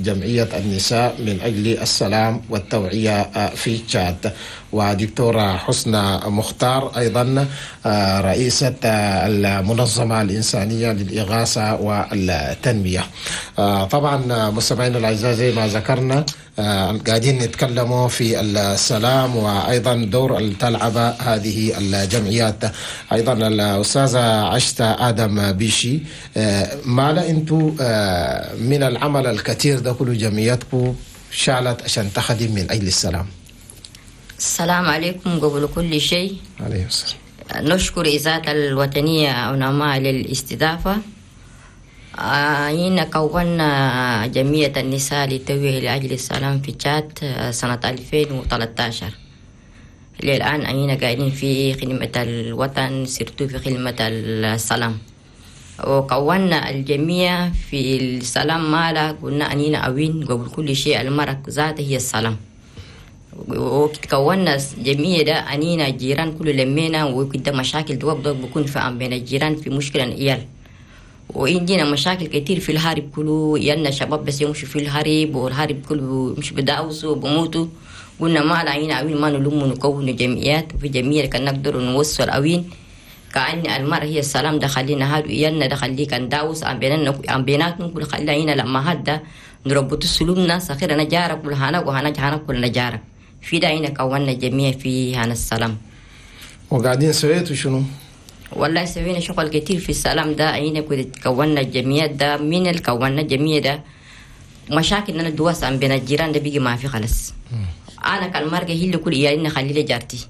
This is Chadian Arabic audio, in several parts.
جمعية النساء من أجل السلام والتوعية في تشاد، ودكتورة حسنى مختار أيضا رئيسة المنظمة الإنسانية للإغاثة والتنمية. طبعا مستمعينا الأعزاء، زي ما ذكرنا قاعدين نتكلموا في السلام وأيضا دور اللي تلعب هذه الجمعيات. أيضا الأستاذة عشتا آدم بيشي، ما لا أنتو من العمل الكثير ده كله جمعياتكم شالت عشان تخدم من أجل السلام؟ السلام عليكم. قبل كل شيء عليه السلام. نشكر إذاعة الوطنية أوناما للاستضافة. هنا كونا جمعية النساء للتوعية لأجل السلام في تشاد سنة 2013. للآن أننا قاعدين في خدمة الوطن، surtout في خدمة السلام. وكونا الجميع في السلام مالا قلنا أننا أوين قبل كل شيء المرأة ذاته هي السلام. وكونا جميع ده أنينا جيران كل لمينا، وكده مشاكل دوق دوق بكون في عم بين الجيران في مشكلة إيال، وعندنا مشاكل كتير في الهارب كله، يلنا شباب بس يمشوا في الهارب، والهارب كله يمشوا بداوسوا وبموتوا. قلنا ما علينا أوين ما نلوم نكون جمعيات، وفي جمعية كان نقدر نوصل أوين كأن المرأة هي السلام ده خلينا هادو إيالنا ده خليه كان داوس عم بيننا عم بيناتنا كل خلينا لما هدا نربط سلومنا سخير أنا جارك كل هنا وهنا هنا كلنا جارك في داينا كونا جميع في هنا السلام. وقاعدين سويتوا شنو؟ والله سوينا شغل كتير في السلام ده. أين كنت كونا الجميع ده من اللي كونا الجميع ده مشاكل أنا دواس عم بين الجيران ده بيجي ما في خلاص. أنا كان مرجع هي اللي كل إيالنا خلي لي جارتي،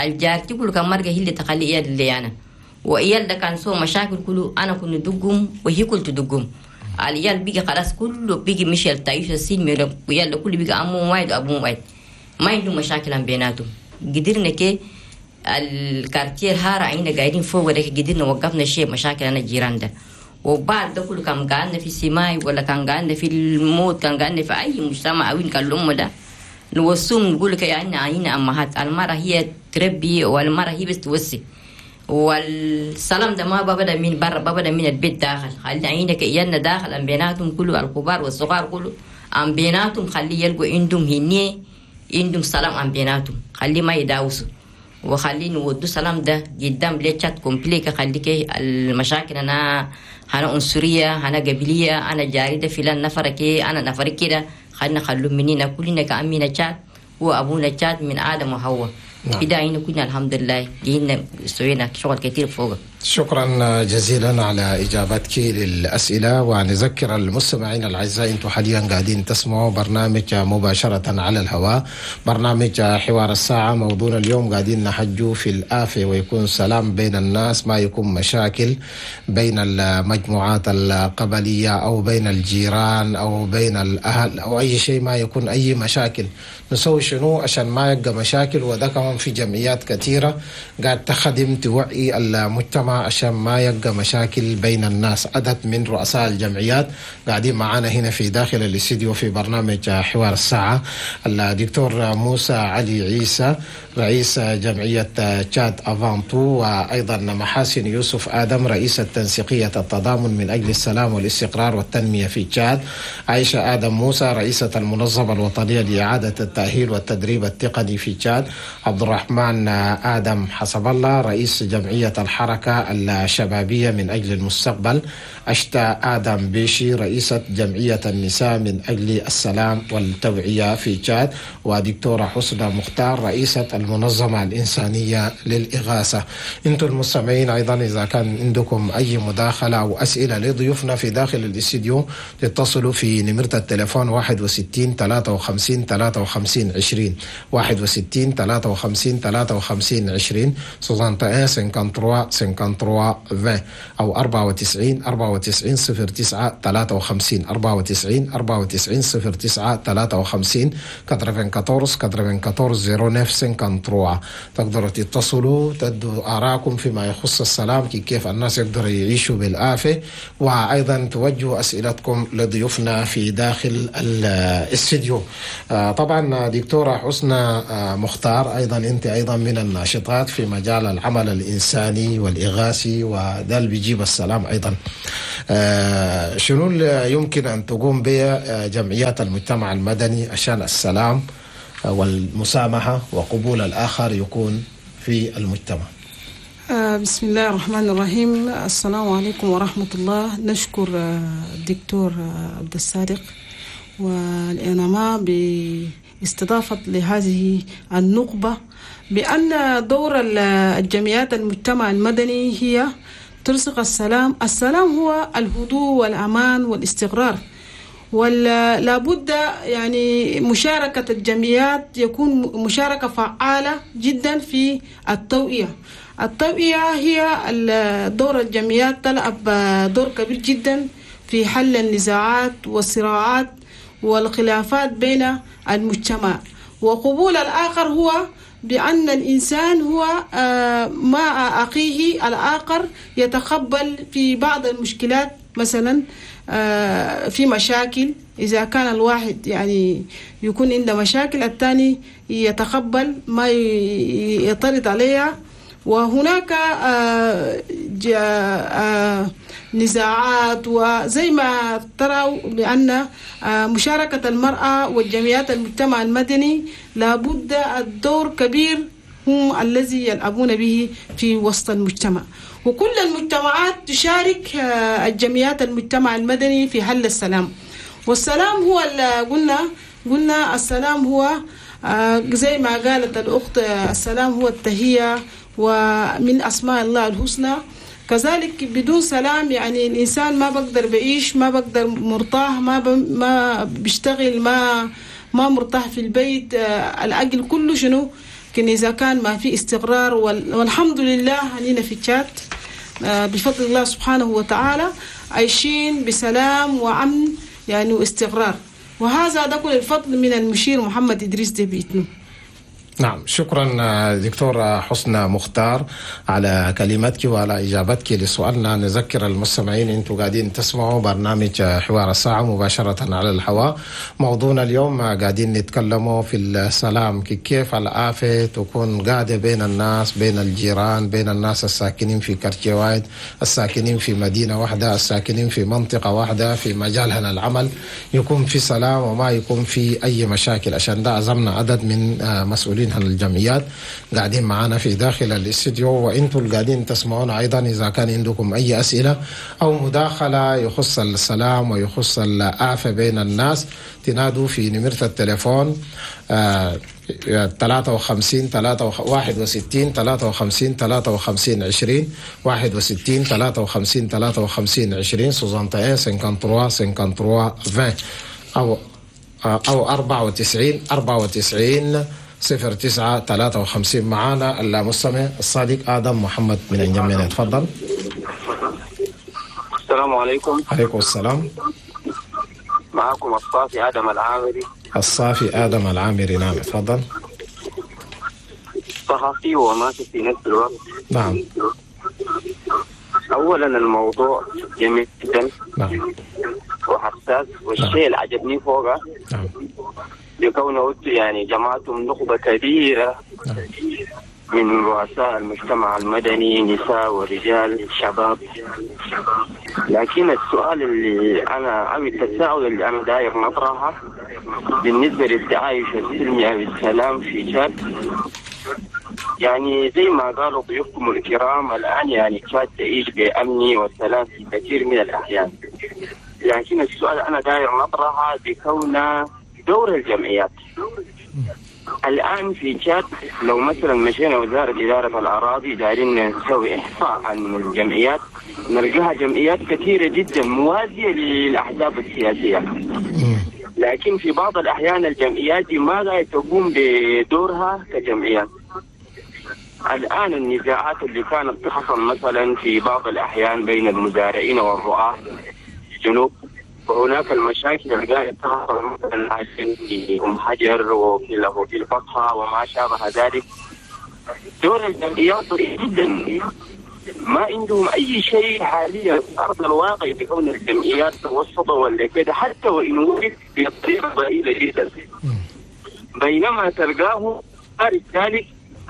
الجارتي كل كان مرجع هي اللي تخلي إيال اللي أنا وإيال ده كان سو مشاكل كله أنا كنت دقهم وهي كل تدقهم. الإيال بيجي خلاص كله بيجي مش التعيش السين وإيال ده كله بيجي أمه واحد وأبوه واحد ما عندهم مشاكل عم بيناتهم. قدرنا كي ال quartier هارا عينا قاعدين فوق ده قدرنا وقفنا شيء مشاكل أنا الجيران ده. وبعد ده كله كان قاعدنا في السماء ولا كان قاعدنا في الموت كان قاعدنا في أي مجتمع وين كان الأم ده نوصوم نقول لك يعني عينا أمهات المرأة هي تربي والمرأة هي بس توصي، والسلام ده ما ببدا من برا ببدا من البيت داخل. خلي عينك إيانا داخل أم بيناتهم كله الكبار والصغار كله أم بيناتهم خلي يلقوا عندهم هني عندهم سلام أم بيناتهم خلي ما يداوسوا وخلي نودو سلام ده قدام ليتشات كومبليك. خليك المشاكل أنا عنصرية أنا قبلية أنا جاري ده فلان نفر كي أنا نفر كده خلينا خلو مننا كلنا كأمينا تشاد وأبونا تشاد من آدم وحواء. نعم. كده كنا الحمد لله جينا سوينا شغل كتير فوق. شكرا جزيلا على إجابتك للأسئلة، ونذكر المستمعين الأعزاء أنتم حاليا قاعدين تسمعوا برنامج مباشرة على الهواء، برنامج حوار الساعة. موضوعنا اليوم قاعدين نحجوا في الآفة ويكون سلام بين الناس، ما يكون مشاكل بين المجموعات القبلية أو بين الجيران أو بين الأهل أو أي شيء، ما يكون أي مشاكل. نسوي شنو عشان ما يبقى مشاكل؟ وده كمان في جمعيات كثيرة قاعد تخدم توعي المجتمع عشان ما يبقى مشاكل بين الناس. عدد من رؤساء الجمعيات قاعدين معانا هنا في داخل الاستديو في برنامج حوار الساعة، الدكتور موسى علي عيسى رئيس جمعية تشاد avant tout، وأيضا محاسن يوسف آدم رئيسة تنسيقية التضامن من أجل السلام والاستقرار والتنمية في تشاد، عائشة آدم موسى رئيسة المنظمة الوطنية لإعادة التأهيل والتدريب التقني في تشاد، عبد الرحمن آدم حسب الله رئيس جمعية الحركة الشبابية من أجل المستقبل، أشتا آدم بيشي رئيسة جمعية النساء من أجل السلام والتوعية في تشاد، ودكتورة حسنى مختار رئيسة المنظمة الإنسانية للإغاثة. أنتم المستمعين أيضا إذا كان عندكم أي مداخلة أو أسئلة لضيوفنا في داخل الاستديو تتصلوا في نمرة التليفون 61 53 53 20 61 53 53 20 61 53 53 20 أو 94 94 09 53 94 94 09 53 94 94 09 53. تقدروا تتصلوا تدوا آراءكم فيما يخص السلام، كيف الناس يقدروا يعيشوا بالآفة، وأيضا توجهوا أسئلتكم لضيوفنا في داخل الاستديو. طبعا دكتورة حسنى مختار أيضا أنت أيضا من الناشطات في مجال العمل الإنساني والإغاثي، وده اللي بيجيب السلام أيضا. شنو اللي يمكن أن تقوم به جمعيات المجتمع المدني عشان السلام والمسامحة وقبول الآخر يكون في المجتمع؟ بسم الله الرحمن الرحيم. السلام عليكم ورحمة الله. نشكر الدكتور عبد الصادق والإنما باستضافة لهذه النقبة، بأن دور الجمعيات المجتمع المدني هي ترسخ السلام. السلام هو الهدوء والأمان والاستقرار، ولا بد يعني مشاركة الجمعيات يكون مشاركة فعالة جدا في التوعية. التوعية هي دور الجمعيات، تلعب دور كبير جدا في حل النزاعات والصراعات والخلافات بين المجتمع. وقبول الآخر هو بأن الإنسان هو مع أخيه الآخر يتقبل في بعض المشكلات، مثلا في مشاكل إذا كان الواحد يعني يكون عنده مشاكل الثاني يتقبل ما يطرد عليها. وهناك نزاعات، وزي ما تروا بأن مشاركة المرأة والجمعيات المجتمع المدني لابد الدور كبير هم الذي يلعبون به في وسط المجتمع. وكل المجتمعات تشارك الجمعيات المجتمع المدني في حل السلام. والسلام هو قلنا السلام هو زي ما قالت الأخت، السلام هو التهية ومن أسماء الله الحسنى. كذلك بدون سلام يعني الإنسان ما بقدر بعيش، ما بقدر مرتاح، ما بيشتغل، ما مرتاح في البيت. الأجل كله شنو لكن إذا كان ما في استقرار. والحمد لله هنينا في تشاد بفضل الله سبحانه وتعالى عايشين بسلام وأمن يعني واستقرار، وهذا ده كل الفضل من المشير محمد إدريس ديبي إتنو. نعم، شكرا دكتورة حسنى مختار على كلماتك وعلى إجابتك لسؤالنا. نذكر المستمعين أنتم قاعدين تسمعوا برنامج حوار الساعة مباشرة على الهواء. موضوعنا اليوم قاعدين نتكلموا في السلام، كيف الآفة تكون قاعدة بين الناس، بين الجيران، بين الناس الساكنين في كرتي واحد، الساكنين في مدينة واحدة، الساكنين في منطقة واحدة، في مجال هنا العمل، يكون في سلام وما يكون في أي مشاكل. عشان ده عزمنا عدد من مسؤولين الجمعيات قاعدين معانا في داخل الاستديو، وانتم اللي قاعدين تسمعونا ايضا اذا كان عندكم اي اسئله او مداخله يخص السلام ويخص الآفة بين الناس تنادوا في نمرة التليفون 53 61 53 53 20 61 53 53 20 61 53 53 20 او 94 94 09 53. معانا المستمع الصديق آدم محمد من الجميلة، تفضل. السلام عليكم. عليكم السلام. معكم الصافي آدم العامري. الصافي آدم العامري، نعم تفضل. صحفي وماشي في نفس الوقت. نعم. أولا الموضوع جميل جدا. نعم. وحساس، والشيء اللي عجبني فوقه. نعم. لكونه يعني جماعتهم نخبة كبيرة من رؤساء المجتمع المدني، نساء ورجال شباب. لكن السؤال اللي أنا أو التساؤل اللي أنا داير نطرحه بالنسبة للتعايش السلمي أو السلام في تشاد، يعني زي ما قالوا ضيوفكم الكرام الآن يعني تشاد تعيش بأمن وسلام في كثير من الأحيان. لكن السؤال أنا داير نطرحه بكون دور الجمعيات الآن في تشاد. لو مثلا مشينا وزارة إدارة الأراضي دايرين نسوي إحصاء عن الجمعيات، نلقاها جمعيات كثيرة جدا موازية للأحزاب السياسية. لكن في بعض الأحيان الجمعيات دي ما لا تقوم بدورها كجمعيات. الآن النزاعات اللي كانت تحصل مثلا في بعض الأحيان بين المزارعين والرعاة في الجنوب، وهناك المشاكل اللي قاعدة تحصل مثلا في أم حجر وفي الفصحى وما شابه ذلك، دور الجمعيات ضئيل جدا، ما عندهم أي شيء حاليا في أرض الواقع بكون الجمعيات توسطة ولا كده، حتى وإن وجد بطريقة ضئيلة جدا. بينما تلقاه خارج ذلك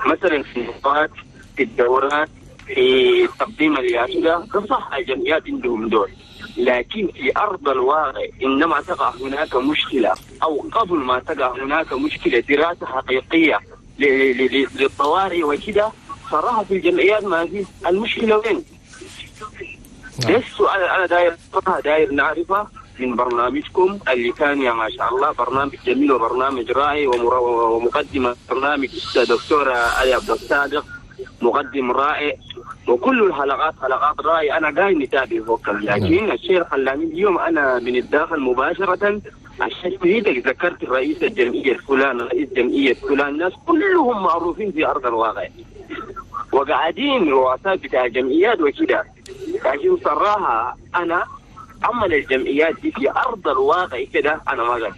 مثلا في النقاط، في الدورات، في تقديم اليافطة، صح الجمعيات عندهم دور. لكن في أرض الواقع إنما تقع هناك مشكلة أو قبل ما تقع هناك مشكلة دراسة حقيقية للطوارئ وكده، صراحة في الجمعيات ما في. المشكلة وين؟ ده السؤال أنا داير نعرفه من برنامجكم اللي كان يا ما شاء الله برنامج جميل وبرنامج رائع، ومقدمة برنامج الدكتورة علي عبد الصادق مقدم رائع، وكل الحلقات حلقات رائعة. أنا قايم نتابع فوق، لكن الشيء خلاني اليوم أنا من الداخل مباشرة عشان إيدك ذكرت رئيس الجمعية فلان، رئيس جمعية فلان، الناس كلهم معروفين في أرض الواقع وقاعدين رؤساء بتاع جمعيات وكده. لكن صراحة أنا عمل الجمعيات دي في أرض الواقع كده أنا ما قادر.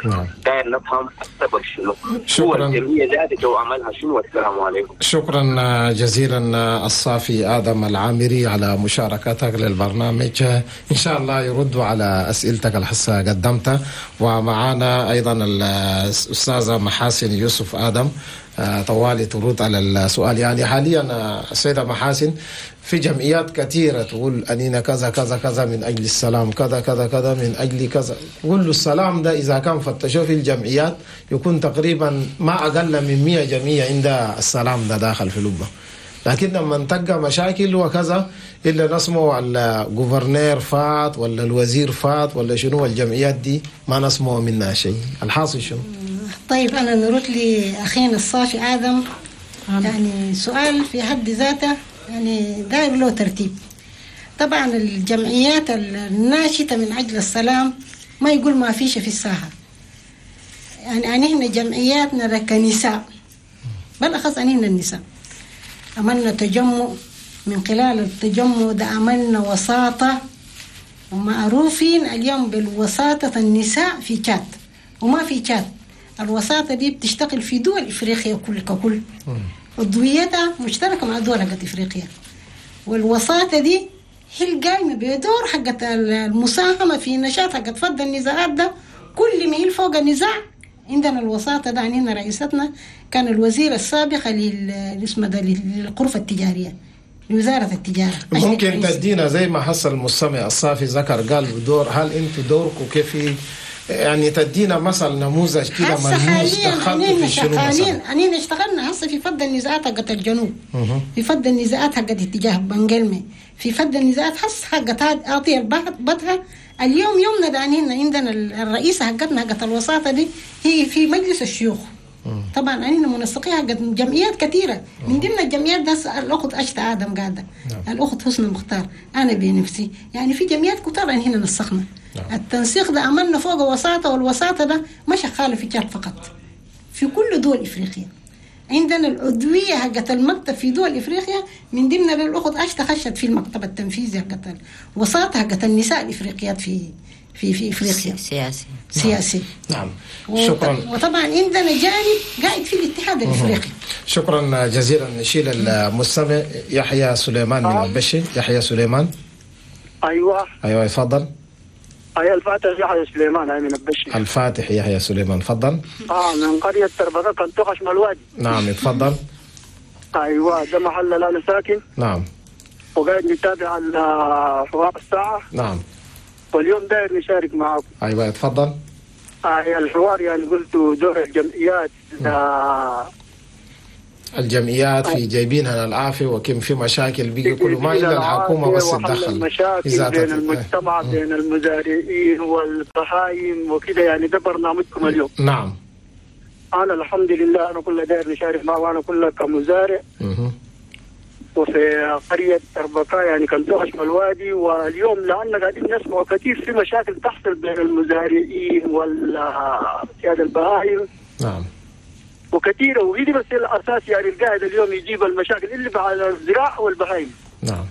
نعم. داير نفهم السبب شنو. شكرا. الجمعية ذاتك وعملها شنو. والسلام عليكم. شكرا جزيلا الصافي آدم العامري على مشاركتك للبرنامج. إن شاء الله يردوا على أسئلتك الحصة قدمتها. ومعنا أيضا الأستاذة محاسن يوسف آدم طوالي ترد على السؤال. يعني حاليا السيدة محاسن في جمعيات كثيرة تقول أنينا كذا كذا كذا من أجل السلام، كذا كذا كذا من أجل كذا. كل السلام ده إذا كان فتشوه في الجمعيات يكون تقريبا ما أقل من 100 جمعية عند السلام ده داخل في لبة. لكن لما تلقى مشاكل وكذا إلا نسمع ال gouverneur فات ولا الوزير فات ولا شنو، الجمعيات دي ما نسمع منها شيء. الحاصل شنو؟ طيب أنا نرد لأخينا الصافي آدم يعني سؤال في حد ذاته يعني داير له ترتيب. طبعا الجمعيات الناشطة من أجل السلام ما يقول ما فيش في الساحة، يعني احنا جمعياتنا كنساء بالأخص أنهنا النساء عملنا تجمع، من خلال التجمع ده عملنا وساطة، ومعروفين اليوم بالوساطة النساء في تشاد وما في تشاد. الوساطة دي بتشتغل في دول إفريقيا كل ككل، عضويتها مشتركة مع دول حقت إفريقيا، والوساطة دي هي القايمة بدور حقت المساهمة في نشاط حقت فض النزاعات ده. كل ما هي فوق النزاع عندنا الوساطة ده. عندنا رئيستنا كان الوزير السابق للاسم ده للغرفة التجارية لوزارة التجارة. ممكن تدينا زي ما حصل المستمع الصافي ذكر قال بدور، هل انتوا دوركم كيف يعني تدينا مثل نموذج كده ملموس دخلتوا في شنو مثلا؟ أنينا اشتغلنا هسه في فض النزاعات حقت الجنوب، في فض النزاعات حقت اتجاه بنجلمي، في فض النزاعات هسه حقت أعطي البطها. اليوم يومنا ده أنينا عندنا الرئيسة حقتنا حقت الوساطة دي هي في مجلس الشيوخ. طبعا أنينا منسقية حقت جمعيات كثيرة، من ضمن الجمعيات ده الأخت أشتا آدم قاعدة، الأخت حسن مختار، أنا بنفسي، يعني في جمعيات كتار أنينا نسخنا. التنسيق ده عملنا فوق وساطة، والوساطة ده ما شغالة في تشاد فقط، في كل دول إفريقيا. عندنا العضوية حقت المكتب في دول إفريقيا، من ضمن الأخت أشتا خشت في المكتب التنفيذي حقت الوساطة حقت النساء الإفريقيات في في في إفريقيا. سياسي سياسي. نعم. شكرا. وطبعا عندنا جانب قاعد في الاتحاد الإفريقي. شكرا جزيلا. نشيل المستمع يحيى سليمان من البشي. يحيى سليمان. أيوة. أيوة يفضل. أي الفاتح يحيى سليمان أي من البشي. الفاتح يحيى سليمان تفضل. من قرية تربطة كنتوخش من الوادي. نعم تفضل. أيوة ده محل اللي أنا ساكن. نعم. وقاعد نتابع على حوار الساعة. نعم. واليوم داير نشارك معاكم. أيوة تفضل. الحوار يعني قلت دور الجمعيات. الجمعيات في جايبينها للعافية وكم في مشاكل بيجي كل ما إلا الحكومة بس تدخل المشاكل بين المجتمع بين المزارعين والبهايم وكده، يعني ده برنامجكم اليوم. نعم. أنا الحمد لله أنا كل داير نشارك معه، وأنا كله كمزارع وفي قرية تربكة يعني كنتوخش من الوادي. واليوم لأن قاعدين نسمع كثير في مشاكل تحصل بين المزارعين والسيادة البهايم. نعم. وكثيرة، وهي دي بس الأساس يعني القاعد اليوم يجيب المشاكل اللي على الزراعة والبهايم. نعم.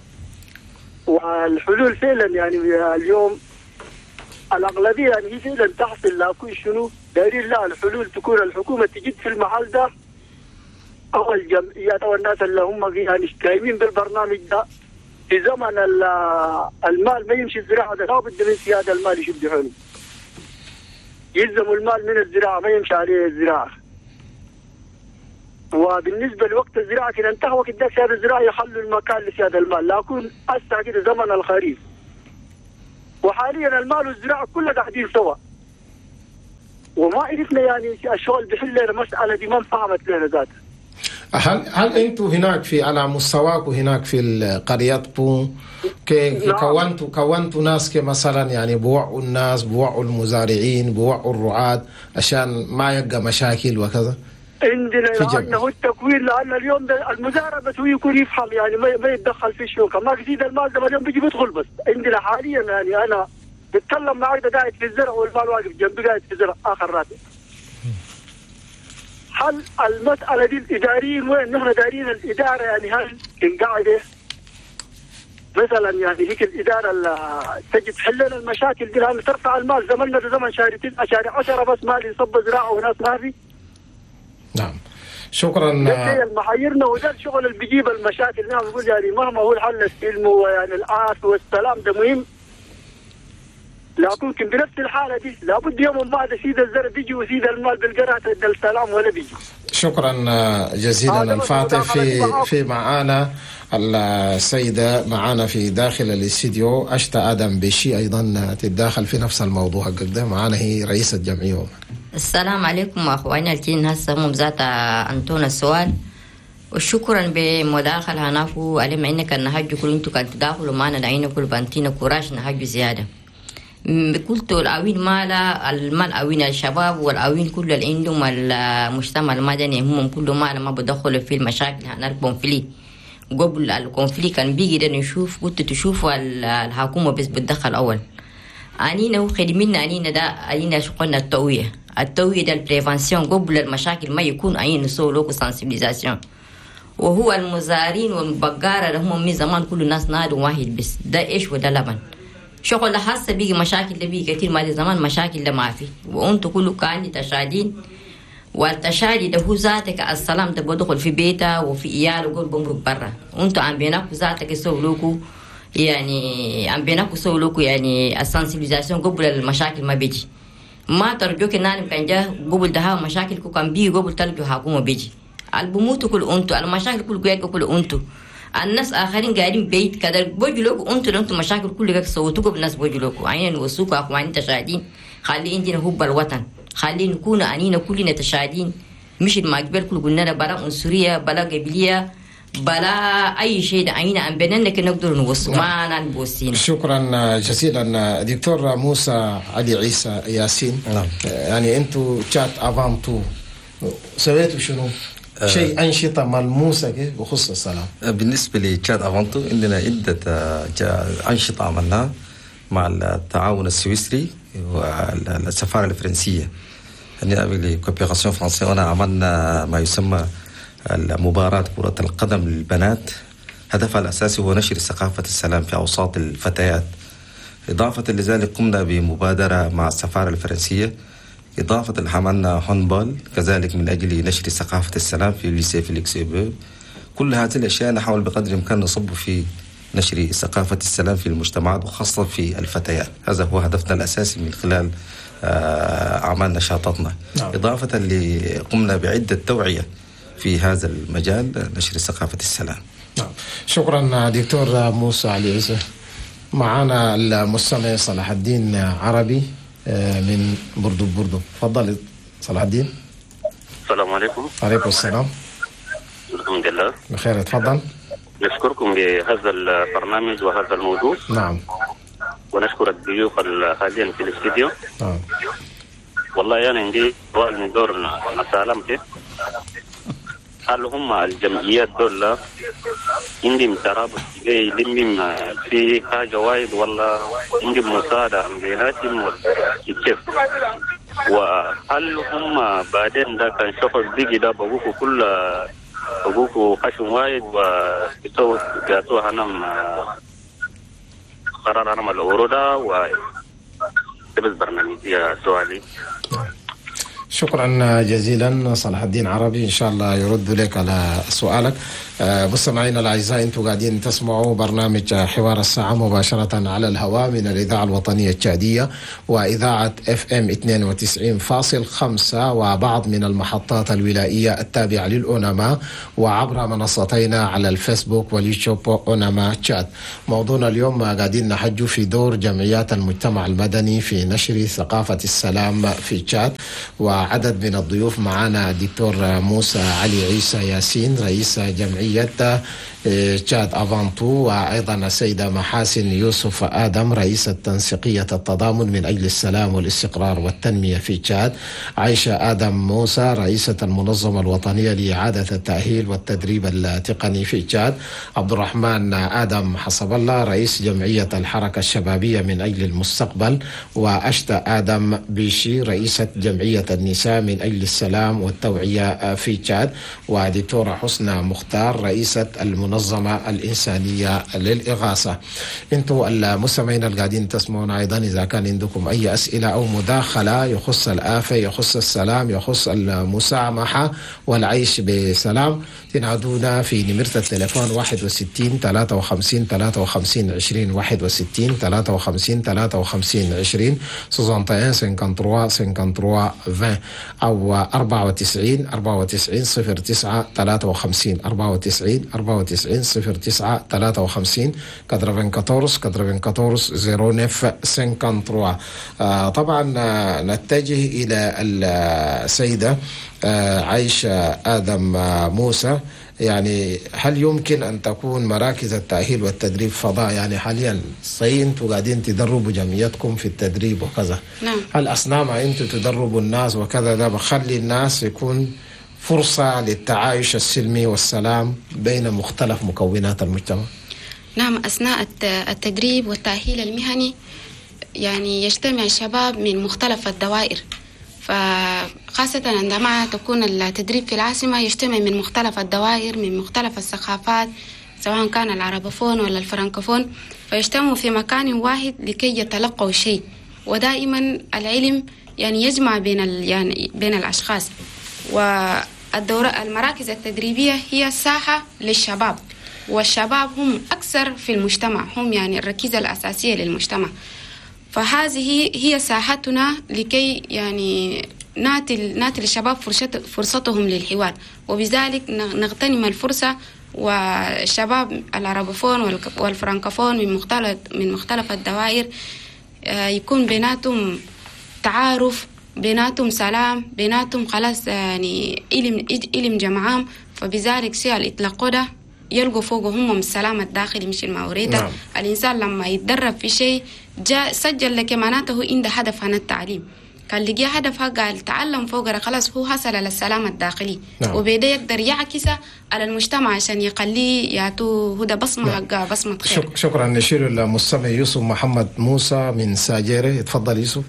والحلول فعلا يعني اليوم الأغلبية يعني هي فعلا تحصل، لكن شنو دايرين لا الحلول تكون الحكومة تجد في المحل ده أو الجمعيات أو الناس اللي هم يعني قايمين بالبرنامج ده. في زمن المال ما يمشي الزراعة ده، لابد من سيادة المال يشد حيله، يلزموا المال من الزراعة ما يمشي عليه الزراعة. وبالنسبة لوقت الزراعة كده انتهى وقت ده سيادة الزراعة يخلوا المكان لسيادة المال، لكن هسه كده زمن الخريف وحاليا المال والزراعة كلها قاعدين سوا، وما عرفنا يعني الشغل بيحل لنا المسالة دي، ما انفهمت لنا ذاتها. هل انتم هناك في على مستواكم هناك في قريتكم كونتوا ناس كمثلا يعني بوعوا الناس، بوعوا المزارعين، بوعوا الرعاة عشان ما يبقى مشاكل وكذا؟ عندنا لأنه التكوين، لأن اليوم المزارع بس هو يكون يفهم يعني ما يتدخل في الشوكة، ما يزيد المال ده اليوم بيجي بيدخل بس. عندنا حاليا يعني أنا بتكلم معك قاعد في الزرع والمال واقف جنبي قاعد في الزرع آخر راتب. هل المسألة دي الإداريين وين؟ نحن دارين الإدارة يعني هل قاعدة مثلا يعني هيك الإدارة تجي تحل لنا المشاكل دي، لأن ترفع المال زمننا ده زمن شهر 9 شهر 10 بس مال يصب زراعة وناس ما في. نعم شكرا. المحيرنا وده الشغل اللي بيجيب المشاكل. نعم نقول يعني مهما هو الحل السلم ويعني العافية والسلام ده مهم، لكن بنفس الحالة دي لابد يوم ما سيد الزرع بيجي وسيد المال بالقرعة السلام ولا بيجي. شكرا جزيلا الفاتح. في معانا السيدة معانا في داخل الاستديو أشتا آدم بشي أيضا تتداخل في نفس الموضوع ده، معانا هي رئيسة جمعية. السلام عليكم أخواني الكين هسه هم ذات أنتونا السؤال، وشكرا بمداخلة هناكو علم إنك النهج كل أنتو كان تداخلوا معنا لعينا كل بانتينا كوراش نهج زيادة. قلت الأوين مالا المال أوين الشباب والأوين كل اللي عندهم المجتمع المدني هم كل مالا ما بدخلوا في المشاكل هنا ال conflit. قبل ال conflit كان بيجي ده نشوف، قلت تشوفوا الحكومة بس بتدخل أول. أنينا وخدمنا أنينا ده أنينا شغلنا التوعية، التوعية ده ال prévention قبل المشاكل ما يكون أين نسوي لوكو sensibilisation. وهو المزارين والبقارة اللي هم من زمان كل الناس نادوا واحد بس ده إيش وده لبن. شغل حاسة بيجي مشاكل ده بيجي كتير ما زمان مشاكل ده ما في، وأنتوا كله كان تشادين، والتشادي ده هو ذاتك السلام ده بدخل في بيته وفي إياله وقول بمرق برا، وأنتوا عم بيناكو ذاتك يسوي يعني عم بيناكو سوي يعني ال sensibilisation قبل المشاكل ما بيجي. ما ترجوك إن كان جا قبل ده مشاكل كو كان بيجي قبل ترجو حكومة بيجي. البموتوا كل أنتوا، المشاكل كل جاي كل أنتوا. الناس آخرين قاعدين بيت كذا بوجلوك أنتوا مشاكل كل جاك سوتوكوا بالناس بوجلوك عين وسوق أخوان تشادين. خلي عندنا حب الوطن، خلي نكون أنينا كلنا تشادين، مش المقبل كل قلنا بلا عنصرية بلا قبلية بلا أي شيء، عينا عم بيننا كنا نقدر نوصل ما نبوسين. شكرا جزيلا دكتور موسى علي عيسى ياسين. نعم. يعني أنتوا تشات أفانتو سويتوا شنو؟ شيء أنشطة ملموسة بخصوص السلام. بالنسبة لتشاد أفانتو عندنا عدة أنشطة عملناها مع التعاون السويسري والسفارة الفرنسية. يعني coopération française عملنا ما يسمى مباراة كرة القدم للبنات، هدفها الأساسي هو نشر ثقافة السلام في أوساط الفتيات. إضافة لذلك قمنا بمبادرة مع السفارة الفرنسية، إضافة عملنا handball كذلك من أجل نشر ثقافة السلام في lycée فيليكس إيبو. كل هذه الأشياء نحاول بقدر الإمكان نصب في نشر ثقافة السلام في المجتمعات وخاصة في الفتيات. هذا هو هدفنا الأساسي من خلال أعمال نشاطاتنا. نعم. إضافة قمنا بعدة توعية في هذا المجال نشر ثقافة السلام. نعم. شكرا دكتور موسى علي عيسى. معنا المستمع صلاح الدين عربي من بردو بردو. تفضل صلاح الدين. السلام عليكم. وعليكم السلام. الحمد لله بخير. تفضل. نشكركم بهذا البرنامج وهذا الموضوع. نعم. ونشكر الضيوف الحاليين في الاستديو. نعم. والله انا عندي سؤال من دور سلامتي، هل هم الجمعيات دول عندهم ترابط يلمهم في حاجة وايد ولا عندهم مساعدة من بيناتهم ولا كيف؟ وهل هم بعدين ده كان شغل بيجي ده بقوكوا كل بقوكوا خشم وايد وبيسووا بيعطوها هنم قرار هنم الأورو و بس برنامج يا سؤالي. شكرا جزيلا صلاح الدين عربي، إن شاء الله يرد لك على سؤالك. مستمعينا الأعزاء، أنتم قاعدين تسمعوا برنامج حوار الساعة مباشرة على الهواء من الإذاعة الوطنية التشادية وإذاعة FM 92.5 وبعض من المحطات الولائية التابعة للأوناما، وعبر منصتينا على الفيسبوك واليوتيوب أوناما تشاد. موضوعنا اليوم قاعدين نحج في دور جمعيات المجتمع المدني في نشر ثقافة السلام في تشاد، وعدد من الضيوف معنا الدكتور موسى علي عيسى ياسين رئيس جمعية تشاد Avant Tout، وأيضا السيدة محاسن يوسف آدم رئيسة تنسيقية التضامن من أجل السلام والاستقرار والتنمية في تشاد، عائشة آدم موسى رئيسة المنظمة الوطنية لإعادة التأهيل والتدريب التقني في تشاد، عبد الرحمن آدم حسب الله رئيس جمعية الحركة الشبابية من أجل المستقبل، وأشتى آدم بيشي رئيسة جمعية النساء من أجل السلام والتوعية في تشاد، ودكتورة حسنى مختار رئيسة المنظمة الإنسانية للإغاثة. انتوا المستمعين القاعدين تسمعون أيضا، إذا كان عندكم أي أسئلة أو مداخلة يخص الآفة، يخص السلام، يخص المسامحة والعيش بسلام، تنادونا في نمرة التليفون 61 53 53 20 61 53 53 20 61 53 53 20 أو 94 94 09 53 94 94 09 53 94 94 09 53. طبعا نتجه إلى السيدة عائشة آدم موسى. يعني هل يمكن أن تكون مراكز التأهيل والتدريب فضاء؟ يعني حاليا صحيح أنتوا قاعدين تدربوا جمعيتكم في التدريب وكذا، نعم. هل أثناء ما أنتوا تدربوا الناس وكذا ده بخلي الناس يكون فرصة للتعايش السلمي والسلام بين مختلف مكونات المجتمع؟ نعم، أثناء التدريب والتأهيل المهني يعني يجتمع الشباب من مختلف الدوائر، فخاصة عندما تكون التدريب في العاصمة يجتمع من مختلف الدوائر، من مختلف الثقافات، سواء كان العربوفون ولا الفرنكوفون، فيجتمعوا في مكان واحد لكي يتلقوا شيء. ودائما العلم يعني يجمع بين يعني بين الأشخاص. والدورة المراكز التدريبية هي ساحة للشباب، والشباب هم أكثر في المجتمع، هم يعني الركيزة الأساسية للمجتمع. فهذه هي ساحتنا لكي يعني نعطي للشباب فرصتهم للحوار، وبذلك نغتنم الفرصة. والشباب العربوفون والفرنكوفون من مختلف الدوائر يكون بيناتهم تعارف، بيناتهم سلام، بيناتهم خلاص يعني علم جمعام. فبذلك شيء الإطلاق ده يلقوا فوقه هم السلام الداخلي مش الموريدة. نعم. الإنسان لما يتدرب في شيء جاء سجل لك معناته عنده هدف عن التعليم، كان لقي هدفها قال تعلم فوق خلاص هو حصل على السلام الداخلي. نعم. وبيدا يقدر يعكسه على المجتمع عشان يخليه يعطوه هدى بصمة. نعم. بصمة خير. شكرا. نشير المستمع يوسف محمد موسى من ساجيري. تفضل يوسف.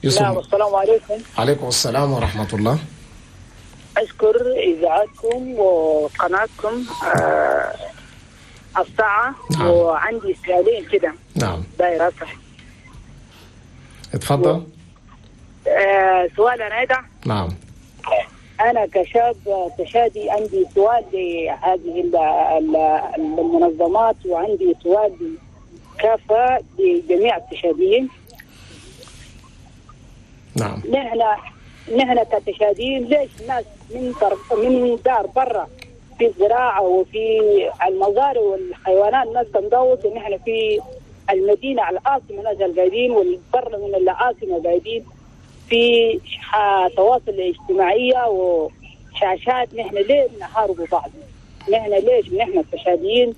يوسف. نعم، السلام عليكم. عليكم السلام ورحمة الله. أشكر إذاعتكم وقناتكم الساعة. نعم. وعندي سؤالين كده. نعم. داير أصح. اتفضل. سؤال أنا ده. نعم. أنا كشاب تشادي عندي سؤال لهذه المنظمات، وعندي سؤال كافة لجميع التشاديين. نعم. نحن كتشاديين ليش الناس من دار برا في الزراعة وفي المزارع والحيوانات الناس تندوس، ونحن في المدينة على العاصمة ناس القاعدين، والبر من العاصمة قاعدين في تواصل اجتماعية وشاشات. نحن ليه نحارب بعض؟ نحن ليش نحن التشاديين؟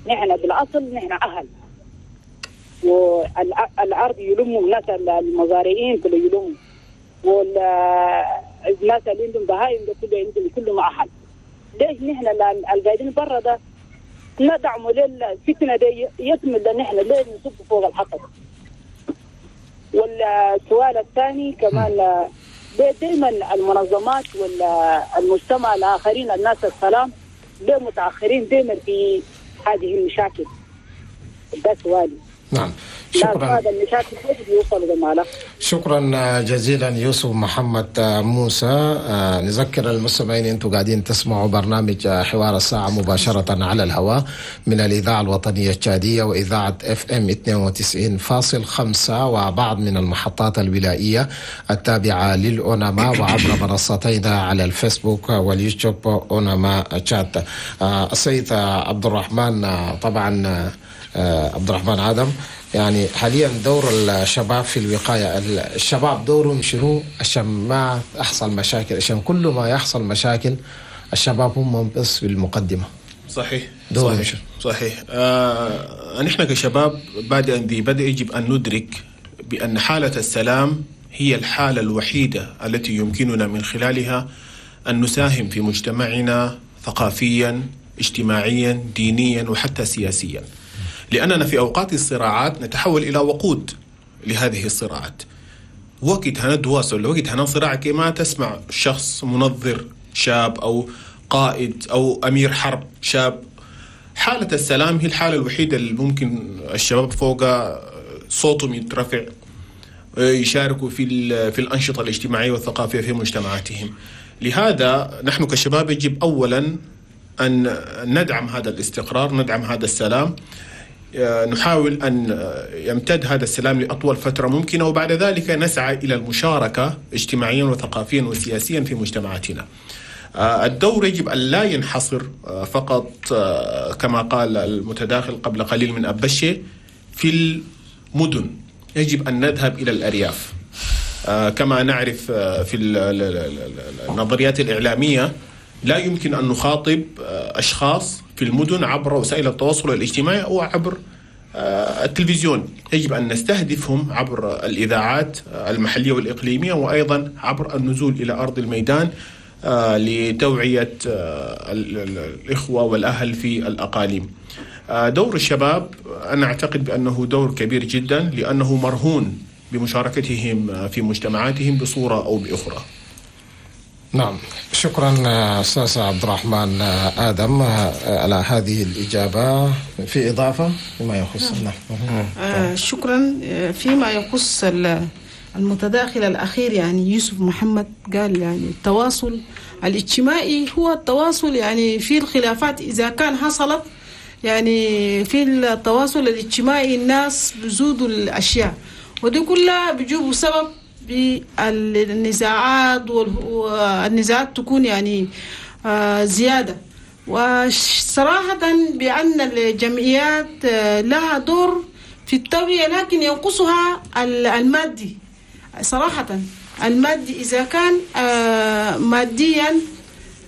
نحن بالأصل نحن أهل، والأرض يلموا الناس المزارعين كله يلموا، والناس اللي عندهم بهايم ده كله عندهم كلهم أهل. ليش نحن القاعدين برا ده ندعموا للفتنة دي يكمل؟ نحن ليه نصب فوق الحطب؟ والسؤال الثاني كمان، ليه دائما المنظمات والمجتمع الآخرين الناس السلام ليه متأخرين دائما في هذه المشاكل؟ ده سؤالي. نعم، شكرا. هذا المشاكل بيوصلوا لماله. شكرا جزيلا يوسف محمد موسى. نذكر المستمعين انتم قاعدين تسمعوا برنامج حوار الساعة مباشرة على الهواء من الإذاعة الوطنية التشادية وإذاعة FM 92.5 وبعض من المحطات الولائية التابعة للأوناما، وعبر منصتينا على الفيسبوك واليوتيوب أوناما تشاد. السيد عبد الرحمن، طبعا عبد الرحمن آدم، يعني حاليا دور الشباب في الوقاية، الشباب دورهم شنو عشان ما تحصل مشاكل؟ عشان كل ما يحصل مشاكل الشباب هم بس في المقدمة. صحيح. دورهم صحيح. صحيح. نحن كشباب بعد أن ذي بدء يجب أن ندرك بأن حالة السلام هي الحالة الوحيدة التي يمكننا من خلالها أن نساهم في مجتمعنا ثقافيا، اجتماعيا، دينيا، وحتى سياسيا، لأننا في أوقات الصراعات نتحول إلى وقود لهذه الصراعات. وقت هنا تواصل، وقت هنا صراع، كما تسمع شخص منظر شاب أو قائد أو أمير حرب شاب. حالة السلام هي الحالة الوحيدة اللي ممكن الشباب فوق صوتهم يترفع، يشاركوا في الأنشطة الاجتماعية والثقافية في مجتمعاتهم. لهذا نحن كشباب يجب أولا أن ندعم هذا الاستقرار، ندعم هذا السلام، نحاول أن يمتد هذا السلام لأطول فترة ممكنة، وبعد ذلك نسعى إلى المشاركة اجتماعيا وثقافيا وسياسيا في مجتمعاتنا. الدور يجب أن لا ينحصر فقط كما قال المتداخل قبل قليل من أبشي في المدن، يجب أن نذهب إلى الأرياف. كما نعرف في النظريات الإعلامية لا يمكن أن نخاطب أشخاص في المدن عبر وسائل التواصل الاجتماعي أو عبر التلفزيون، يجب أن نستهدفهم عبر الإذاعات المحلية والإقليمية، وأيضا عبر النزول إلى أرض الميدان لتوعية الإخوة والأهل في الأقاليم. دور الشباب أنا أعتقد بأنه دور كبير جدا، لأنه مرهون بمشاركتهم في مجتمعاتهم بصورة أو بأخرى. نعم، شكرا أستاذ عبد الرحمن آدم على هذه الإجابة. في إضافة فيما يخص؟ نعم. شكرا. فيما يخص المتداخل الأخير، يعني يوسف محمد قال يعني التواصل الاجتماعي هو التواصل، يعني في الخلافات إذا كان حصلت، يعني في التواصل الاجتماعي الناس بزودوا الأشياء، ودي كلها بيجيبوا سبب بالنزاعات، والنزاعات تكون يعني زيادة. وصراحة بأن الجمعيات لها دور في التوعية، لكن ينقصها المادي. صراحة المادي إذا كان ماديا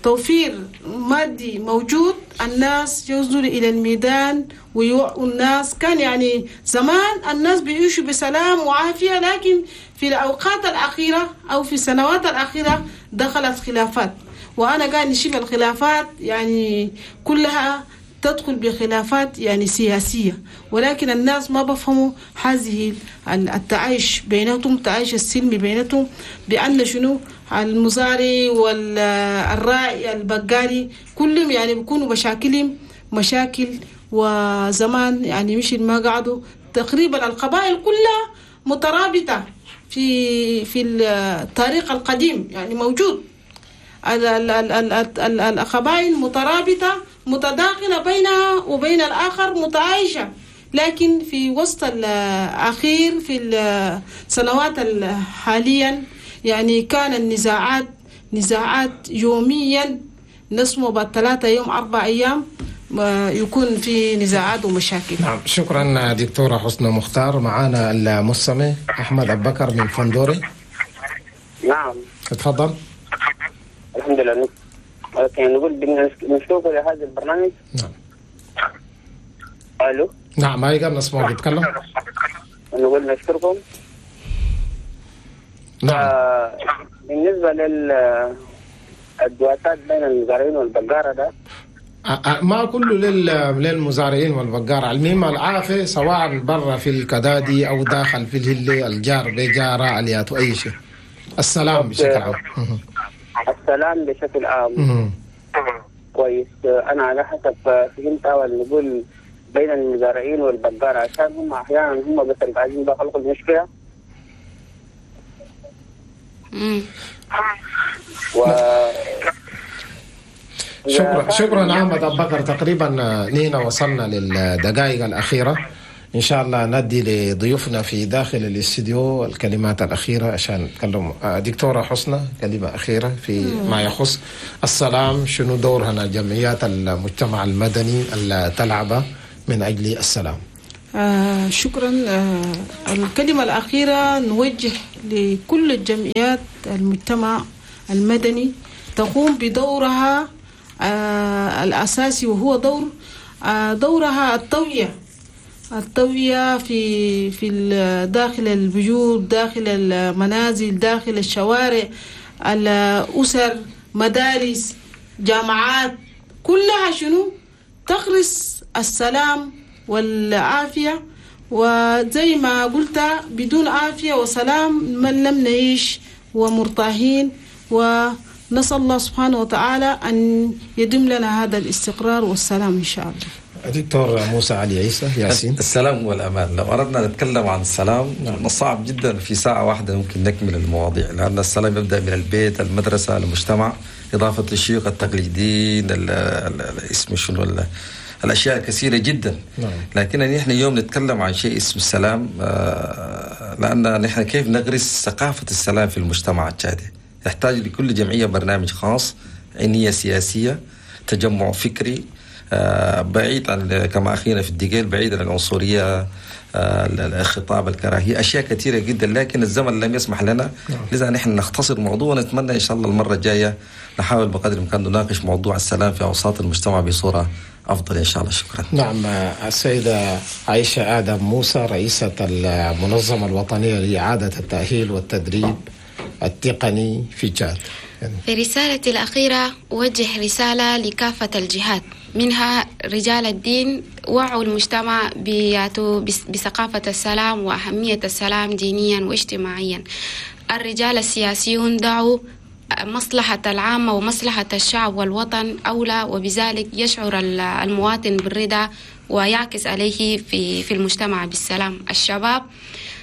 توفير مادي موجود، الناس ينزلوا إلى الميدان ويوعوا الناس. كان يعني زمان الناس بيعيشوا بسلام وعافية، لكن في الأوقات الأخيرة أو في السنوات الأخيرة دخلت خلافات، وأنا قاعد نشوف الخلافات يعني كلها تدخل بخلافات يعني سياسية، ولكن الناس ما بفهموا هذه التعايش بيناتهم، التعايش السلمي بيناتهم، بأن شنو المزاري والراعي البقالي كلهم يعني بيكونوا مشاكلهم مشاكل. وزمان يعني مش ما قعدوا تقريبا القبائل كلها مترابطة في التاريخ القديم، يعني موجود القبائل مترابطة متداخلة بينها وبين الآخر متعايشة. لكن في وسط الأخير في السنوات حاليا يعني كان النزاعات نزاعات يوميا، نسمو بعد 3 يوم 4 أيام يكون في نزاعات ومشاكل. نعم، شكرا دكتورة حسنى مختار. معنا المستمع أحمد أبو بكر من فندوري. نعم تفضل. الحمد لله. نقول بنشوف لهذا البرنامج. نعم. الو. نعم، هاي قبل نسمعك بيتكلم. نقول نشكركم. نعم. بالنسبة للدواسات بين المزارعين والبقارة ده ما كله للمزارعين والبقارة، المهم العافية سواء برا في الكدادي أو داخل في الهلي، الجار بجارة اليات أي شيء، السلام بشكل عام. السلام بشكل عام. كويس. أنا على حسب فهمت أول نقول بين المزارعين والبقارة، عشان هم أحيانا هم بس اللي قاعدين بيخلقوا المشكلة. شكرا أحمد أبو بكر. تقريبا نينا وصلنا للدقائق الأخيرة، إن شاء الله ندي لضيوفنا في داخل الاستديو الكلمات الأخيرة عشان نتكلم. دكتورة حسنى، كلمة أخيرة في ما يخص السلام، شنو دورنا جمعيات المجتمع المدني اللي تلعبه من أجل السلام؟ شكرا. الكلمة الأخيرة نوجه لكل الجمعيات المجتمع المدني تقوم بدورها الأساسي، وهو دورها التوعية في داخل البيوت، داخل المنازل، داخل الشوارع، الأسر، مدارس، جامعات، كلها شنو تغرس السلام والعافية. وزي ما قلت بدون عافية وسلام من لم نعيش ومرتاحين، ونسأل الله سبحانه وتعالى أن يدم لنا هذا الاستقرار والسلام إن شاء الله. دكتور موسى علي عيسى ياسين، السلام والأمان. لو أردنا نتكلم عن السلام صعب جدا في ساعة واحدة ممكن نكمل المواضيع، لأن السلام يبدأ من البيت، المدرسة، المجتمع، إضافة للشيوخ التقليديين، اسم شنو، الأشياء كثيرة جدا. لكن نحن اليوم نتكلم عن شيء اسمه السلام، لأن نحن كيف نغرس ثقافة السلام في المجتمع التشادي. يحتاج لكل جمعية برنامج خاص، عنية سياسية، تجمع فكري، بعيد عن كما أخينا في الدقيل، بعيد عن العنصرية، الخطاب الكراهية، أشياء كثيرة جدا، لكن الزمن لم يسمح لنا. لذا نحن نختصر الموضوع، ونتمنى إن شاء الله المرة الجاية نحاول بقدر الإمكان نناقش موضوع السلام في أوساط المجتمع بصورة أفضل إن شاء الله. شكرا. نعم، السيدة عائشة آدم موسى، رئيسة المنظمة الوطنية لإعادة التأهيل والتدريب التقني في تشاد. في رسالتي الأخيرة أوجه رسالة لكافة الجهات، منها رجال الدين، وعوا المجتمع بثقافة السلام وأهمية السلام دينيا واجتماعيا. الرجال السياسيون دعوا مصلحة العامة ومصلحة الشعب والوطن أولى، وبذلك يشعر المواطن بالرضا ويعكس عليه في المجتمع بالسلام. الشباب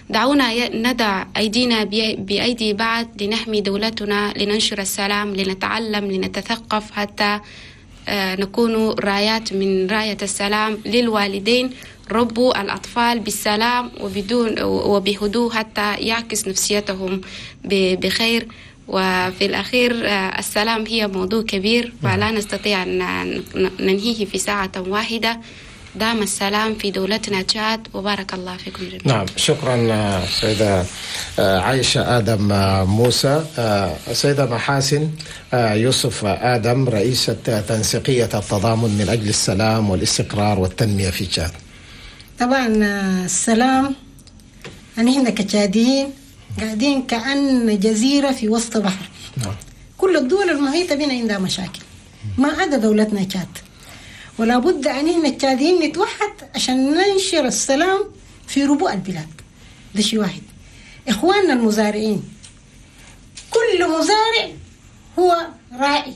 دعونا ندع أيدينا بأيدي بعض لنحمي دولتنا، لننشر السلام، لنتعلم، لنتثقف، حتى نكون رايات من راية السلام للوالدين. ربوا الأطفال بالسلام وبهدوء حتى يعكس نفسيتهم بخير. وفي الأخير السلام هي موضوع كبير فلا نستطيع أن ننهيه في ساعة واحدة. دام السلام في دولتنا تشاد، وبارك الله فيكم جميعا. نعم، شكرا سيدة عائشة آدم موسى. سيدة محاسن يوسف آدم، رئيسة تنسيقية التضامن من أجل السلام والاستقرار والتنمية في تشاد. طبعا السلام، نحن كتشاديين قاعدين كأن جزيرة في وسط بحر. نعم. كل الدول المحيطة بنا عندها مشاكل ما عدا دولتنا تشاد، ولا بد أن احنا التشاديين نتوحد عشان ننشر السلام في ربوع البلاد. ده شيء واحد. إخواننا المزارعين، كل مزارع هو راعي.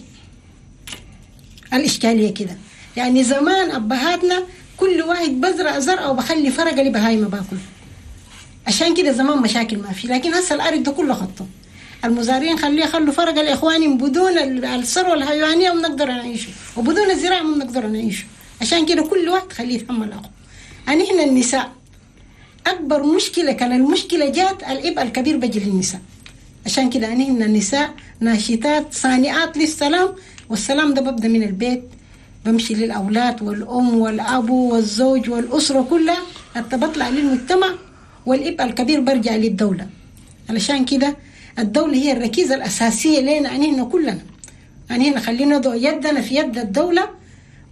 الإشكالية كده يعني زمان أبهاتنا كل واحد بزرع زرعه وبخلي فرقة لبهايمة باكل، عشان كده زمان مشاكل ما في. لكن هسه الأرض ده كله خطه المزارعين، خليه يخلوا فرق الإخوان بدون الثروة الحيوانية وبنقدر نعيشه، وبدون الزراعة ما بنقدر نعيشه. عشان كده كل واحد خليه يتحمل أخوه. يعني إحنا النساء أكبر مشكلة، كان المشكلة جات العبء الكبير بيجي للنساء. عشان كده يعني إحنا النساء ناشطات صانعات للسلام، والسلام ده ببدأ من البيت، بمشي للأولاد والأم والأب والزوج والأسرة كلها، حتى بطلع للمجتمع، والعبء الكبير برجع للدولة. علشان كده الدولة هي الركيزة الأساسية لنا أنهنا كلنا، أنهنا خلينا نضع يدنا في يد الدولة،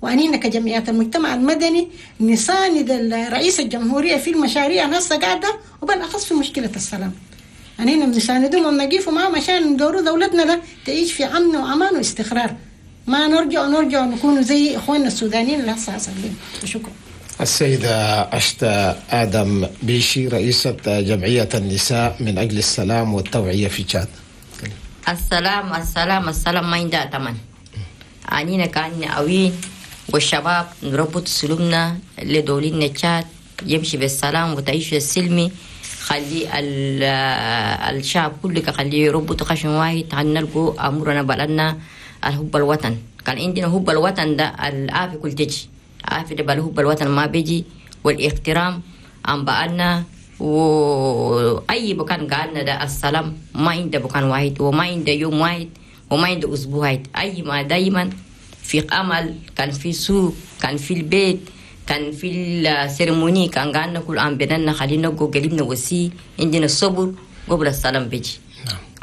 وأنهنا كجمعيات المجتمع المدني نساند رئيس الجمهورية في المشاريع هسه قاعدة، وبالأخص في مشكلة السلام. أنهنا بنساندهم ونقيفوا معهم عشان ندوروا دولتنا ده تعيش في أمن وأمان واستقرار، ما نرجع نكون زي إخواننا السودانيين اللي هسه حصل لهم. شكرا. السيدة أشتا آدم بيشي، رئيسة جمعية النساء من أجل السلام والتوعية في تشاد. السلام السلام السلام ما عندها ثمن. أنينا كان أوين والشباب نربط سلومنا لدولين تشاد يمشي بالسلام وتعيش السلمي. خلي الشعب كله خليه يربط خشم واحد نلقوا أمورنا بلدنا الحب الوطن. كان عندنا حب الوطن ده العافية كل تجي عافية ده حب الوطن ما بيجي، والاحترام عن بقالنا وأي مكان قعدنا ده السلام ما عنده مكان واحد وما عنده يوم واحد وما عنده أسبوع واحد. أي ما دايما في عمل، كان في سوق، كان في البيت، كان في ال cérémonie، كان قعدنا كل عام بيننا خلينا نقول قلبنا وسي عندنا الصبر قبل السلام بيجي.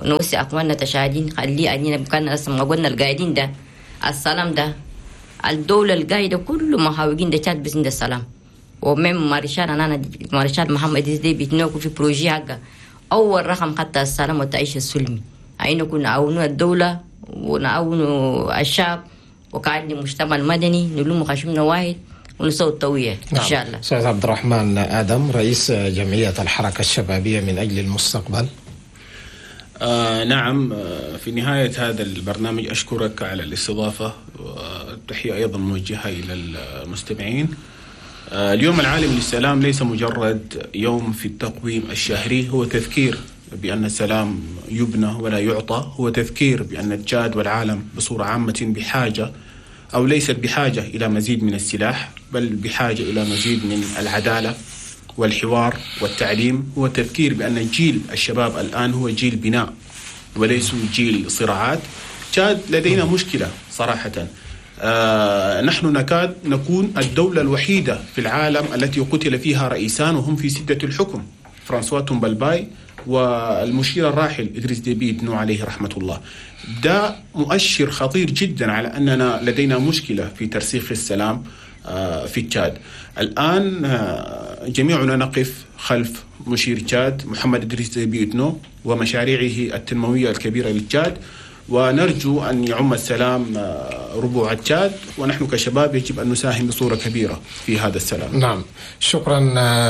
نوسي أخواننا تشاهدين خلي أنينا بكان أصلا ما قلنا القاعدين ده السلام ده الدولة القاعدة كل محاوجين ده تشاد بس السلام. و même maréchal أنا مارشال محمد دي بيتنوكو في projet حقه أول رقم حتى السلام والتعيش السلمي. أين كنا نعاونوا الدولة ونعاونوا الشعب وكان المجتمع المدني نلوم خشمنا واحد ونسوي التوعية. نعم. إن شاء الله. أستاذ عبد الرحمن آدم رئيس جمعية الحركة الشبابية من أجل المستقبل. نعم، في نهاية هذا البرنامج أشكرك على الاستضافة، والتحية أيضا موجهة إلى المستمعين. اليوم العالمي للسلام ليس مجرد يوم في التقويم الشهري، هو تذكير بأن السلام يبنى ولا يعطى، هو تذكير بأن تشاد والعالم بصورة عامة بحاجة أو ليست بحاجة إلى مزيد من السلاح، بل بحاجة إلى مزيد من العدالة والحوار والتعليم. هو تذكير بأن جيل الشباب الآن هو جيل بناء وليس جيل صراعات. تشاد لدينا مشكلة صراحة، نحن نكاد نكون الدولة الوحيدة في العالم التي قتل فيها رئيسان وهم في سدة الحكم، فرانسوا تومبالباي والمشير الراحل إدريس ديبي إتنو عليه رحمة الله. ده مؤشر خطير جدا على أننا لدينا مشكلة في ترسيخ السلام في تشاد. الآن جميعنا نقف خلف مشير تشاد محمد إدريس ديبي إتنو ومشاريعه التنموية الكبيرة للتشاد، ونرجو أن يعم السلام ربوع تشاد، ونحن كشباب يجب أن نساهم بصورة كبيرة في هذا السلام. نعم، شكرا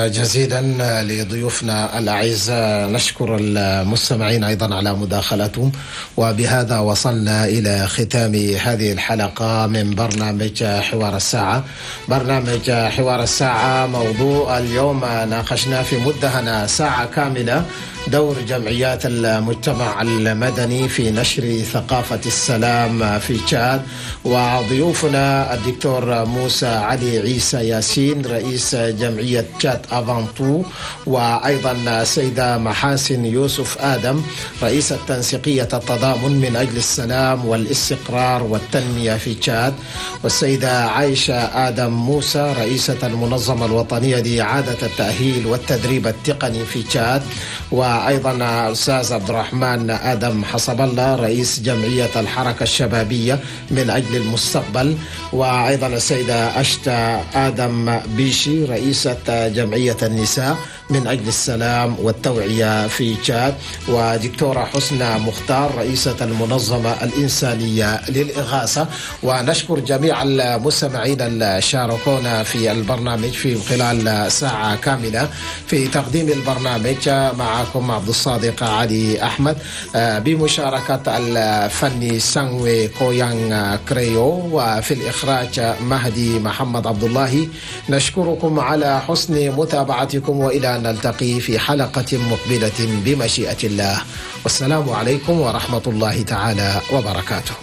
جزيلا لضيوفنا الأعزاء، نشكر المستمعين أيضا على مداخلتهم، وبهذا وصلنا إلى ختام هذه الحلقة من برنامج حوار الساعة. برنامج حوار الساعة موضوع اليوم ناقشنا في مدة ساعة كاملة دور جمعيات المجتمع المدني في نشر ثقافة السلام في تشاد، وضيوفنا الدكتور موسى علي عيسى ياسين رئيس جمعية تشاد Avant Tout، وأيضا السيدة محاسن يوسف آدم رئيسة تنسيقية التضامن من أجل السلام والاستقرار والتنمية في تشاد، والسيدة عائشة آدم موسى رئيسة المنظمة الوطنية لإعادة التأهيل والتدريب التقني في تشاد، وأيضا الأستاذ عبد الرحمن آدم حسب الله رئيس جمعية الحركة الشبابية من أجل المستقبل، وأيضا السيدة أشتا آدم بيشي رئيسة جمعية النساء من أجل السلام والتوعية في تشاد، ودكتورة حسنى مختار رئيسة المنظمة الإنسانية للإغاثة. ونشكر جميع المستمعين اللي شاركونا في البرنامج في خلال ساعة كاملة. في تقديم البرنامج معكم عبد الصادق علي أحمد بمشاركة الفني سانوي كويان كريو، وفي الإخراج مهدي محمد عبد الله. نشكركم على حسن متابعتكم، وإلى أن نلتقي في حلقة مقبلة بمشيئة الله، والسلام عليكم ورحمة الله تعالى وبركاته.